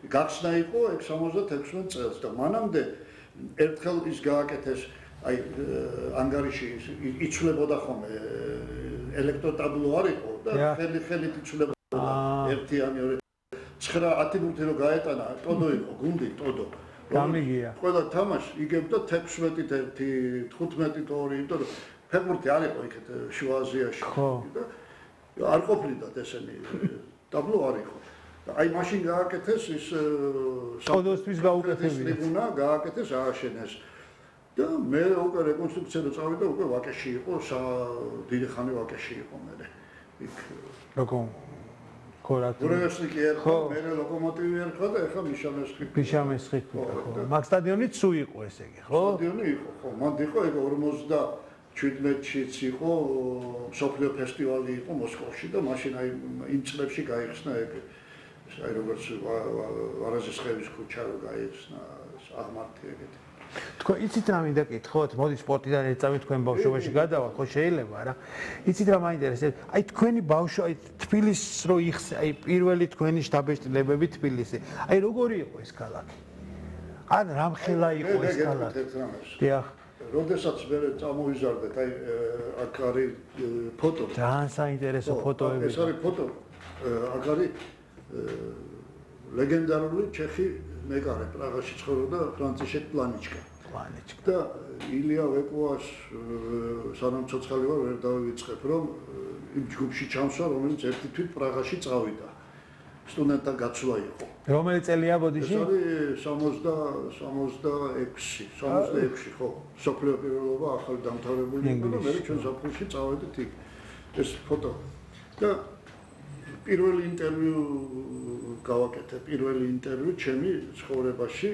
გახსნა იყო 66 წელს და მანამდე ერთხელ ის გააკეთეს აი ანგარიში იცვლებოდა ხოლმე ელექტროტაბლო არ იყო და ხელით იცვლებოდა ერთიანი ორი 9-10 ბურთი რო გაეტანა ტოდო იყო გუნდი ტოდო გამიგია ყველა თამაში იგებდა 16-ით 1 15-ით 2 იმიტომ რომ ფეხბურთი არ იყო იქეთ შუა აზიაში და არ ყოფილდა ესენი ტაბლო არ იყო აი მაშინ გააკეთეს ის ტოდოსთვის გაუკეთებია ტრიბუნა გააკეთეს ააშენეს და მე უკვე რეკონსტრუქციაზე წავიდა უკვე ვაკეში იყო დიდი ხანი ვაკეში იყო მე იქ როგორ გურევესლიკი ერთხა მე ლოკომოტივი ერთხა და ეხა მიშამესხი ხო მაგ სტადიონიც სულ იყო ესე იგი ხო სტადიონი იყო ხო მანდ იყო ეგ 57-შიც იყო სოფლიო ფესტივალი იყო მოსკოვში და მაშინ აი იმ წლებში გაიხსნა ეგ აი როგორც ვარაზისხევის ქუჩა რო გაიხსნა აღმართი ეგეთი თქო იცით რა მინდა კითხოთ მოდი სპორტიდან ეწავით თქვენ ბავშვობაში გადავალ ხო შეიძლება რა იცით რა მაინტერესებს აი თქვენი ბავშვი აი თბილისს რო იხსნა აი პირველი თქვენი შთაბეჭდილებები თბილისი აი როგორი იყო ეს ქალაქი ან რამხელა იყო ეს ქალაქი დიახ როდესაც მე წამოვიზარდეთ აი აქ არის ფოტო ძალიან საინტერესო ფოტოები ეს არის ფოტო აქ არის ლეგენდარული ჩეხი მეკარე პრაღაში ცხოვრობდა ფრანციშეკ პლანიჩკა და ილია ვეკოას სანამ ცოცხალი ვარ ვერ დავივიწყებ რომ იმ ჯგუფში ჩამსვა რომელიც ერთი თვით პრაღაში წავიდა სტუდენტთა გაცვლა იყო რომელი წელია ბოდიში ეს არის 66 ხო სოფლიო პირველობა ახალი დამთავრებული იყო და მე ჩვენ საფრთხეში წავედით იქ ეს ფოტო და პირველი ინტერვიუ გავაკეთე პირველი ინტერვიუ ჩემი ცხოვრებაში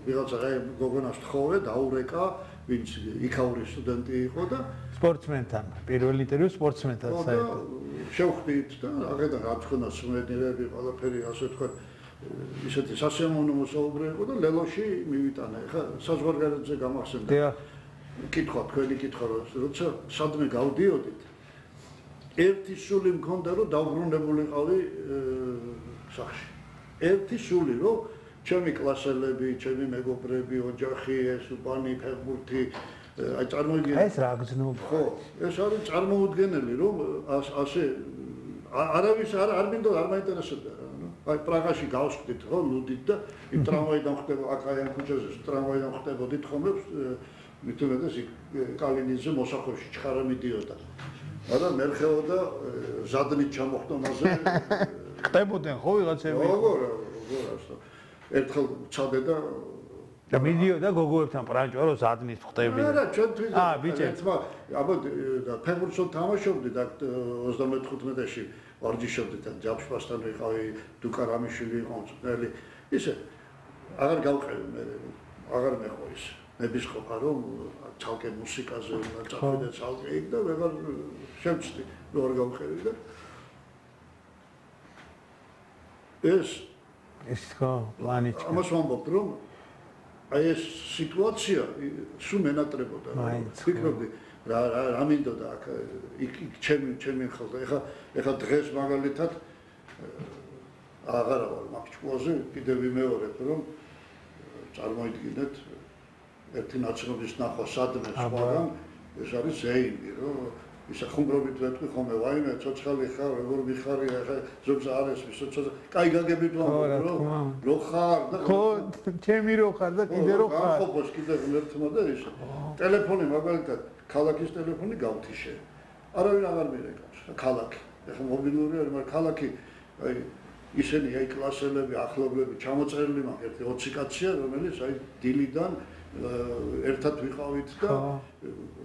ვიღაცა გოგონას თხოვე დაურეკა ვინც იქაური სტუდენტი იყო და სპორტსმენთან პირველი ინტერვიუ სპორტსმენთან საერთოდ შევხვდით და აღედა რა თქონა სმენელები ყველაფერი ასე თქვა ისეთი სასიამოვნო საუბარი იყო და ლელოში მივიტანა ეხა საზღვარგარეთზე გამახსენდა კითხვა თქვენი კითხვა როცა სადმე გავდიოდით ერთი სული მქონდა რომ დავბრუნებულიყავი სახში ერთი სული რომ ჩემი კლასელები ჩემი მეგობრები ოჯახი ეს უბანი ფეხბურთი აი წარმოიდგინე ეს რა გზნობა ხო ეს არის წარმოუდგენელი რომ ასე არავის არ მინდო არ მაინტერესებდა აი პრაღაში გავსვდით ხო ლუდით და იმ ტრამვაიდან ხდება აკაიან ქუჩაზე ტრამვაიდან ხდებოდით ხოლმე მithumedes კალინიძე მოსახვევში ჩხარა მიდიოდა არა მერხეო და ზადნით ჩამოხტომაზე ხდებოდნენ ხო ვიღაცები როგორ ასე ერთხელ ჩადე და მიდიოდა გოგოებთან პრანჭო რომ ზადნით ხტები არა ჩვენთვის ბიჭებს აბა ფეხბურთს თამაშობდი და 35-ში ვარჯიშობდით ან ჯაფშპასთან ვიყავი დუკა რამიშვილი იყო მწვრთნელი ისე აღარ გავყევი მე აღარ მეყო ის ნების ყოფა რომ ცალკე მუსიკაზე უნდა წავიდე ცალკე იქ და ვეღარ შევწდი რომ არ გავყევი და ეს ხო პლანიჩკა ამას ვამბობ რომ აი ეს სიტუაცია სულ მენატრებოდა ვფიქრობდი რა მინდოდა აქ იქ ჩემი ხალხი ეხა დღეს მაგალითად აღარა ვარ მაგ ჭკუაზე კიდევ ვიმეორებ რომ წარმოიდგინეთ ერთი ნაცნობის ნახვა სადმე სხვაგან ეს არის ზეიმი რომ ისა ხუმრობით ვეთქვი ხოლმე ვაიმე ცოცხალი ხარ როგორ მიხარი ახლა ზოგს არის ცოცხალი კაი გაგებით ვამბობ რო ხარ და ხო ჩემი რო ხარ და კიდე რო ხარ ხო კიდე ერთმა და ის ტელეფონი მაგალითად ქალაქის ტელეფონი გავთიშე არავინ აღარ მირეკავს ქალაქი ახლა მობილური არის მაგრამ ქალაქი აი ისინი აი კლასელები ახლობლები ჩამოწერილი მაქვს ერთი 20 კაცია რომელიც აი დილიდან ერთად ვიყავით და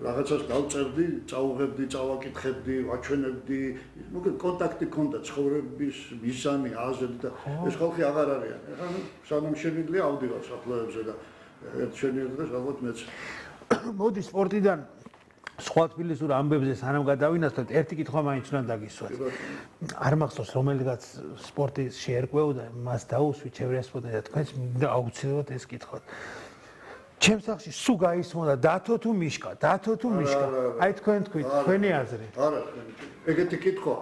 რაღაცას გავწერდი, წავუღებდი, წავაკითხებდი, ვაჩვენებდი, მოკლედ კონტაქტი ქონდა ცხოვრების მიზანი, აზრი და ეს ხალხი აღარ არიან. ეხლა სანამ შემიძლია ავდივარ საფლავებზე და ერთ შენიერებას ალბათ მეც. მოდი სპორტიდან სხვა თბილისურ ამბებზე სანამ გადავინაცვლოთ, ერთი კითხვა მაინც უნდა დაგისვათ. არ მახსოვს რომელიღაც სპორტის შეერკვეოდა, მას დაუსვით შევრესპოდა და თქვენს მინდა აუცილებლად ეს კითხოთ. ჩემს სახში სულ გაისმოდა დათო თუ მიშკა, აი თქვენ თქვით, თქვენი აზრი. არა, ეგეთი კითხვა.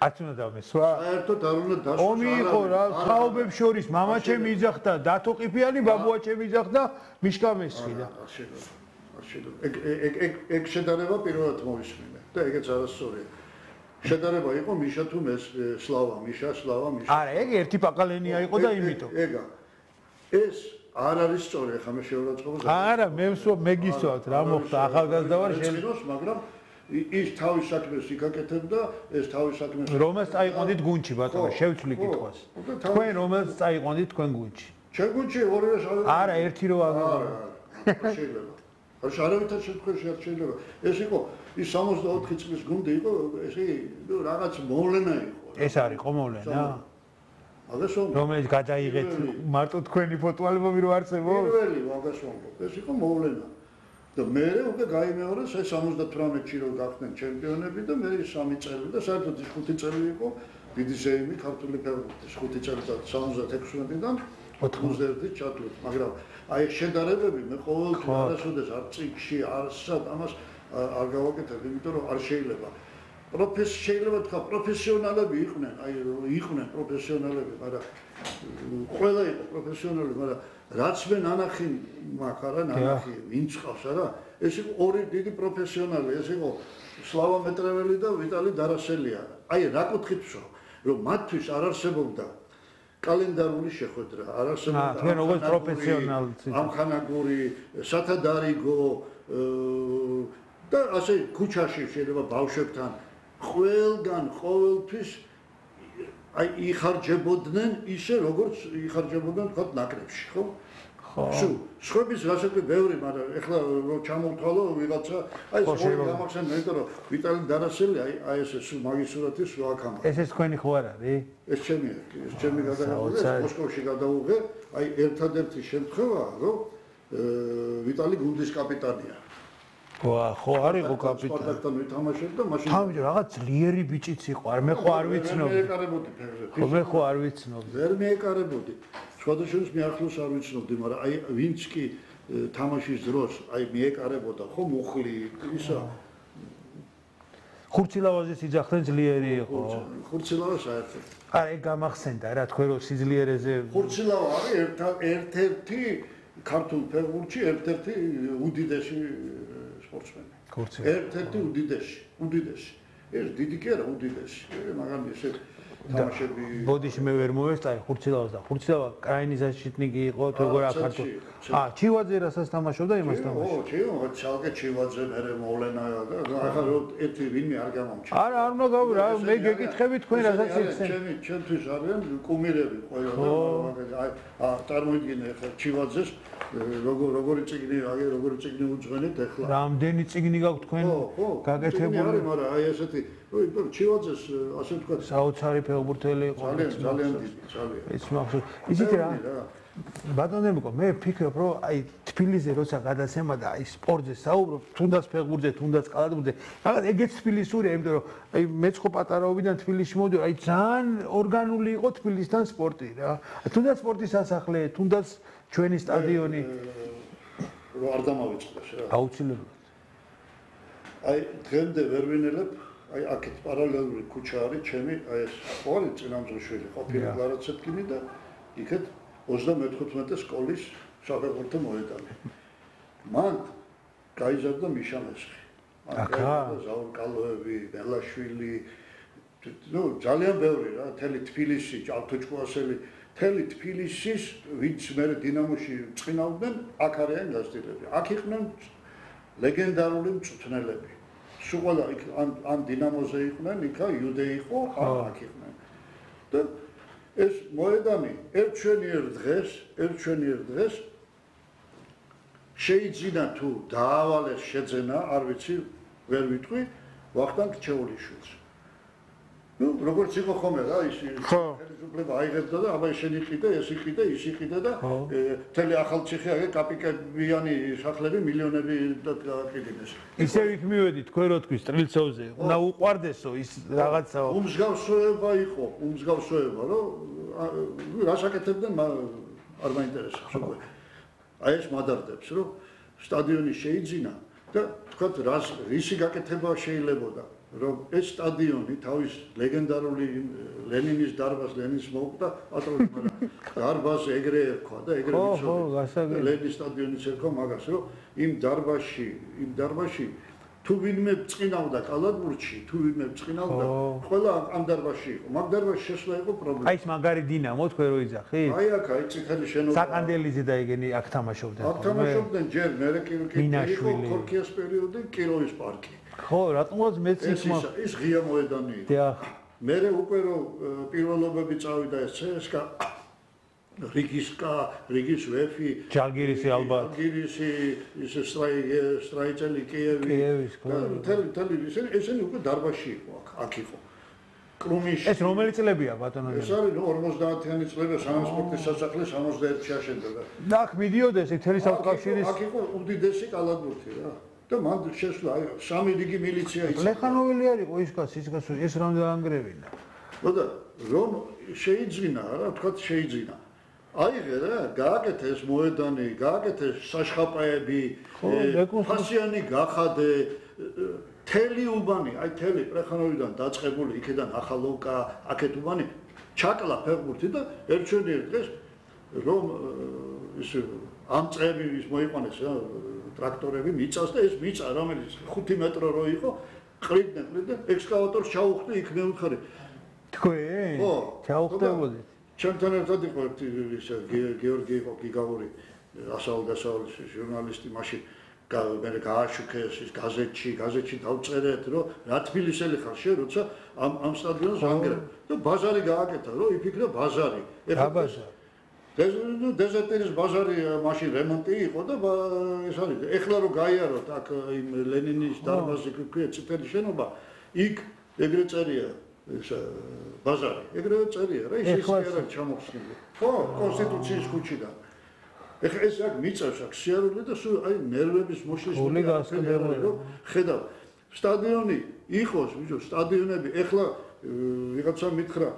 არც უნდა დამესვა. საერთოდ არ უნდა დასვა. ომი იყო რა, თაობებს შორის მამაჩემი იძახდა, დათო ყიფიანი ბაბუაჩემი იძახდა, მიშკა მესხი და. ეგ შედარება პირველად მოვისმინე და ეგეც არასწორია. შედარება იყო მიშა თუ სლავა, მიშა. არა, ეგ ერთი პაკალენია იყო და იმითო. ეგა. ეს არ არის სწორი, ხა მე შეურაცხყოფას. არა, მე გისვათ რა მოხდა, ახალგაზრდა ვარ შენ. მაგრამ ის თავის საქმეს იკაკეთებდა, ეს თავის საქმეს. რომელს წაიყვანდით გუნდში ბატონო, შევცვლი კითხვას. თქვენ რომელს წაიყვანდით თქვენ გუნდში? ჩვენ გუნდში ორივე არა, ერთი რო არა, შეიძლება. არავითარ შემთხვევაში არ შეიძლება. ეს იყო ის 64 წლის გუნდი იყო, ესე რაღაც მოვლენა იყო. ეს არის ხო მოვლენა? მაგას რომელიც გადაიღეთ მარტო თქვენი ფოტოალბომი რო არსებობს? პირველი მაგას ვამბობ. ეს იყო მოვლენა. და მე უკვე გაიმეორეს ეს 78-ში რო გახდნენ ჩემპიონები და მე 3 წელი და საერთოდ 5 წელი იყო დიდი ზეიმი ქართული ფეხბურთის 5 წელიწად 76-დან 91-ით ჩათვლით, მაგრამ აი შედარებები მე ყოველთვის არასოდეს არ წიგში არსად ამას არ გავაკეთებ, იმიტომ რომ არ შეიძლება. შეიძლება თქვა პროფესიონალები იყვნენ, იყვნენ პროფესიონალები, მაგრამ ყველა იყო პროფესიონალი, მაგრამ რაც მე ნანახი მაქვს, არა ნანახი, ვინც ყავს, არა? ეს იყო ორი დიდი პროფესიონალი, ეს იყო სლავა მეტრეველი და ვიტალი დარასელია. აი რა კუთხით ვსვამ, რომ მათთვის არ არსებობდა კალენდარული შეხვედრა, არ არსებობდა თქვენ როგორც პროფესიონალი ამხანაგური, სათადარიგო და ასე ქუჩაში შეიძლება ბავშვებთან ყველგან ყოველთვის აი იხარჯებოდნენ ისე როგორც იხარჯებოდნენ თქვა ნაკრებში, ხო? ხო. სხვების გასაგები ბევრი, მაგრამ ეხლა რო ჩამოვთვალო ვიღაცა, აი ეს ორი გამახსენდა, იმიტომ რომ ვიტალი დარასელი აი ეს მაგის სურათი სულ აქ ამბობს. ეს თქვენი ხო არ არის? ეს ჩემი გადაღებულია, მოსკოვში გადავუღე, აი ერთადერთი შემთხვევაა, რომ ვიტალი გუნდის კაპიტანია. ხო არისო კაპიტანი. სპარტაკთან ვითამაშებდა, მაშინ თავი რაღაც ძლიერი ბიჭიც იყო, მე ხო არ ვიცნობ. მე ხო არ ვიცნობ. ვერ მეეკარებოდი. სხვადასხვა მე ახლოს არ ვიცნობდი, მაგრამ აი ვინც კი თამაშის დროს აი მეეკარებოდა, ხო მუხლი, ისა ხურცილავაზის იძახდნენ ძლიერი იყო. ხურცილავა საერთოდ. არა, ეგ გამახსენდა რა, თქვენ რო სიძლიერეზე ხურცილავა არის ერთ-ერთი ქართულ ფეხბურთში ერთ-ერთი უდიდესი სპორტსმენი. ერთ-ერთი უდიდესი. ეს დიდი კი არა, უდიდესი. მაგრამ ესე თამაშები ბოდიში მე ვერ მოვესწარი ხურცილავას და ხურცილავა კრაინიზაშიტნიგი იყო თუ როგორ აქართო. ჩივაძე რასაც თამაშობდა იმას თამაშობდა. ჩალკე ჩივაძე მერე მოვლენა და ახლა რო ერთი ვინმე არ გამომჩა. არა, არ უნდა გავ რა, მე გეკითხები თქვენ რასაც იხსენ. ჩემთვის არიან კუმირები ყველა და წარმოიდგინე ახლა ჩივაძეს როგორი წიგნი უძღვენეთ ახლა. რამდენი წიგნი გაქვთ თქვენ გაკეთებული? არის, მაგრამ აი ესეთი ჩივაძეს ასე თქვა საოცარი ფეხბურთელი იყო. ძალიან დიდი, ძალიან. ეს მახსოვს. ისეთი რა. ბატონებო, მე ვფიქრობ, რომ აი თბილისზე როცა გადაცემა და აი სპორტზე საუბრობ, თუნდაც ფეხბურთზე, თუნდაც კალათბურთზე, რაღაც ეგეც თბილისურია, იმიტომ რომ აი მეც ხო პატარაობიდან თბილისში მოვიდი, აი ძალიან ორგანული იყო თბილისთან სპორტი რა. თუნდაც სპორტის სასახლე, თუნდაც ჩვენი სტადიონი რო არ დამავიწყდეს რა. აუცილებლად. აი დღემდე ვერ ვინელებ, აი აქეთ პარალელური ქუჩა არის ჩემი, აი ეს ყოველი წინამძღვრიშვილი ყოფილი გლარაცეთკინი და იქეთ 34 სკოლის საფეხბურთო მოედანი. მან გაიზარდა მიშა მესხი. აკა ზაურ კალოევი, ბელაშვილი, ძალიან ბევრი რა, მთელი თბილისი, ჭალთუჭკუასელი, მთელი თბილისის ვინც მე დინამოში წინავდნენ, აქ არიან გასტილები. აქ იყვნენ ლეგენდარული მწვრთნელები. სულ ყველა ან დინამოზე იყვნენ, იქა იუდე იყო, აქ იყვნენ. და ეს მოედანი ერთჩვენიერ დღეს შეიძლება თუ დაავალეს შეძენა, არ ვიცი, ვერ ვიტყვი, ვახტანგ რჩეულიშვილს. როგორც იყო ხოლმე რა, ის ხელისუფლება აიღებდა და აბა შენ იყიდე, ეს იყიდე, ის იყიდე და მთელი ახალციხე აგე კაპიკებიანი სახლები მილიონები დააკიდეს. ისევ იქ მივედი თქვენ რო თქვი სტრილცოვზე, უნდა უყვარდესო ის რაღაცა. უმსგავსება იყო, რომ რას აკეთებდნენ არ მაინტერესებს უკვე. აი ეს მადარდებს, რომ სტადიონი შეიძინა და თქვათ რისი გაკეთება შეიძლებოდა. რომ ეს სტადიონი თავის ლეგენდარული ლენინის დარბაზს ლენინს მოუყვდა პატრონი, მაგრამ დარბაზი ეგრე ერქვა და ეგრე ვიცოდი. ლენის სტადიონიც ერქვა მაგას, რომ იმ დარბაზში თუ ვინმე ბრწყინავდა კალათბურთში, თუ ვინმე ბრწყინავდა, ყველა ამ დარბაზში იყო. მაგ დარბაზში შესვლა იყო პრობლემა. აი ეს მაგარი დინამო თქვენ რო იძახით? აი აქ აი წითელი შენობა. საკანდელიძე და ეგენი აქ თამაშობდნენ. აქ თამაშობდნენ ჯერ მერე იყო ქორქიას პერიოდი, კიროვის პარკი. ხო, რატომაც მეც იქ ის ღია მოედანი იყო. დიახ. მერე უკვე რო პირველობები წავიდა ეს CSKA რიგის ვეფი, ჯალგირისი ალბათ. ჯალგირისი, ის სტრაიჭელი კიევი. თელი ესენი უკვე დარბაზში იყო აქ იყო. კრუმიში. ეს რომელი წლებია ბატონო? ეს არის 50-იანი წლები, სანამ სპორტის სასახლე 61-ში აშენდა. და აქ მიდიოდა ეს თელი სამყაროების. აქ იყო უდიდესი კალათბურთი რა. და მან შესვლა აი 3 რიგი მილიცია იყო. ლეხანოველი არ იყო ის კაცი, ეს რამ დაანგრევინა. და რომ შეიძინა რა, თქვა შეიძინა. აიღე რა, გააკეთე ეს მოედანი, გააკეთე საშხაპაები, ფასიანი გახადე, თელი უბანი, აი თელი პრეხანოვიდან დაწყებული, იქიდან ახალოვკა, აქეთ უბანი, ჩაკლა ფეხბურთი და ერთჩვენიერ დღეს რომ ის ამ წრები ის მოიყვანეს რა, ტრაქტორები მიწას და ეს მიწა რომელიც 5 მეტრო რო იყო, ყრიდნენ, ექსკავატორს ჩაუხდი იქ მე ვიხარი. თქვენ? ხო, ჩაუხდებოდით. ჩემთან ერთად იყო ის გიორგი იყო გიგაური ასაულ-დასაულის ჟურნალისტი მაშინ მე გააშუქეს ის გაზეთში დავწერეთ რომ რა თბილისელი ხარ შე როცა ამ სტადიონს ანგრევ და ბაზარი გააკეთა რომ იფიქრა ბაზარი დეზერტერის ბაზარი მაშინ რემონტი იყო და ეს არის ეხლა რომ გაიაროთ აქ იმ ლენინის დარბაზი ქვია წითელი შენობა იქ ეგრე წერია ეს ბაზარი ეგრევე წერია რა ის არა ჩამოხსნილი ხო კონსტიტუციის ქუჩიდან ეხლა ეს აქ მიწევს აქ სიარული და სულ აი ნერვების მოშლის ხედავ სტადიონი იყოს ბიჭო სტადიონები ეხლა ვიღაცა მითხრა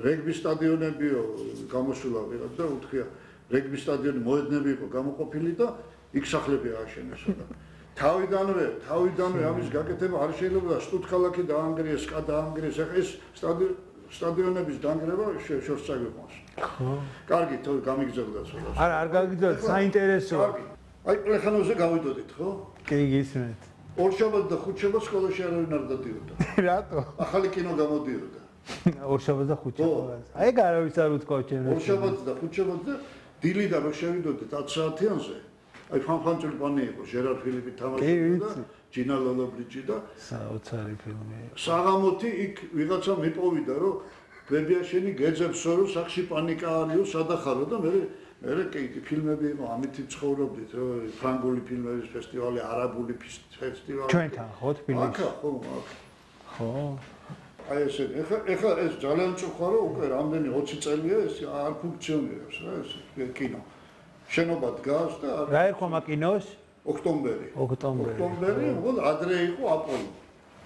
რეგბის სტადიონებიო გამოსულა ვიღაც და უთქია რეგბის სტადიონი მოედნები იყო გამოყოფილი და იქ სახლები ააშენეს და თავიდანვე ამის გაკეთება არ შეიძლება სტუდქალაქი დაანგრიეს, სკა დაანგრიეს, ახლა ეს სტადიონების დანგრევა შორს წაგვიყვანს. ხო. კარგი, თო გამიგზავნოთ ხოლმე. არა, არ გამიგზავნოთ, საინტერესოა. აი პლეხანოვზე გავიდოდით, ხო? კი, გისმენთ. ორშაბათ და ხუთშაბათ სკოლაში არავინ არ დადიოდა. რატო? ახალი კინო გამოდიოდა. ორშაბათ და ხუთშაბათ. აი ეგ არავის არ უთქვა ჩემს. ორშაბათ და ხუთშაბათ და დილიდან რო შევიდოდით 10 საათიანზე აი ფანფანჭული პანი იყო ჟერარ ფილიპი თამაშობდა და ჯინა ლოლობრიჯი და საოცარი ფილმი. საღამოთი იქ ვიღაცა მიპოვიდა რომ ბებიაშენი გეძებსო რომ სახში პანიკა არისო სადახარო და მე კი ფილმები იყო ამითი ცხოვრობდით რომ ფრანგული ფილმების ფესტივალი, არაბული ფესტივალი. ჩვენთან ხო თბილისში? ხო. აი ესე ეხლა ეს ძალიან წუხა რომ უკვე რამდენი 20 წელია ეს არ ფუნქციონირებს რა ეს კინო. შენობა დგას და რა ერქვა მაკინოს? ოქტომბერი, მოკლედ ადრე იყო აპოლო.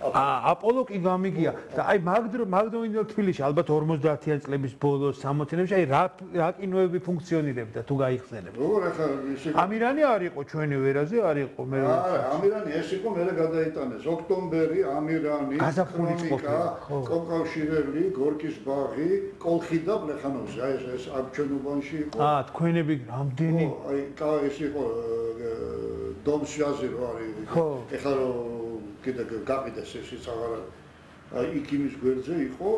აპოლო კი გამიგია და აი მაგდროინდელ თბილისში ალბათ 50-იან წლების ბოლოს 60-იანებში აი რა კინოები ფუნქციონირებდა თუ გაიხსენებ. როგორ ახლა ისე ამირანი არ იყო ჩვენი ვერაზე არ იყო მე. არა, ამირანი ეს იყო მე გადაიტანეს. ოქტომბერი, ამირანი, გაზაფხულიკა, კომკავშირელი, გორკის ბაღი, კოლხი და პლეხანოვზე. აი ეს აქ ჩვენ უბანში იყო. თქვენები რამდენი? აი ეს იყო დომსვაზი რო არის. ეხლა კიდე გაყიდეს ესეც აღარა იქ იმის გვერდზე იყო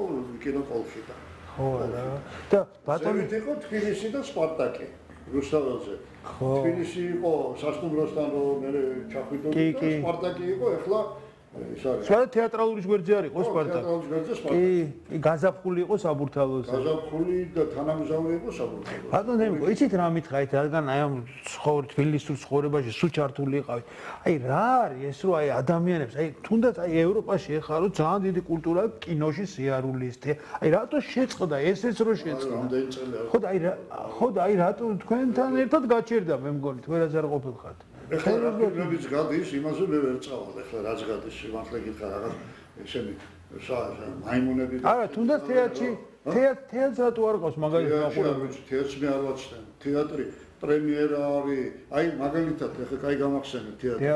კინოკოლხი და ხო რა და ბატონი იყო თბილისი და სპარტაკი რუსთაველზე თბილისი იყო სასტუმროსთან რომ მე ჩახვიდოდი და სპარტაკი იყო ეხლა ის არის სხვა თეატრალური გვერდზე არ იყო სპარტაკი თეატრალური გვერდზე სპარტაკი კი გაზაფხული იყო საბურთალოზე გაზაფხული და თანამგზავრი იყო საბურთალოზე ბატონო ემიგო იცით რა მითხარით რადგან აი ამ თბილისის ცხოვრებაში სულ ჩართული იყავი აი რა არის ეს რომ აი ადამიანებს აი თუნდაც აი ევროპაში ეხლა რომ ძალიან დიდი კულტურა კინოში სიარულის აი რატო შეწყდა ესეც რომ შეწყდა ხო და აი რატო თქვენთან ერთად გაჩერდა მე მგონი თქვენაც არ ყოფილხართ ეხლა ფილმებიც გადის, იმაზე მე ვერ წავალ, ეხლა რაც გადის, სიმართლე გითხრა რაღაც ესენი მაიმუნები და არა, თუნდაც თეატრს რატო არ ყავს მაგალითად მაყურებელი? თეატრს მე არ ვაცდენ. თეატრი პრემიერა არის, აი მაგალითად ეხლა კაი გამახსენე თეატრი.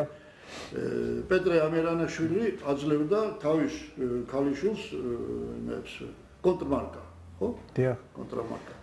პეტრე ამერანაშვილი აძლევდა თავის ქალიშვილს იმებს კონტრმარკა, ხო? დიახ. კონტრმარკა.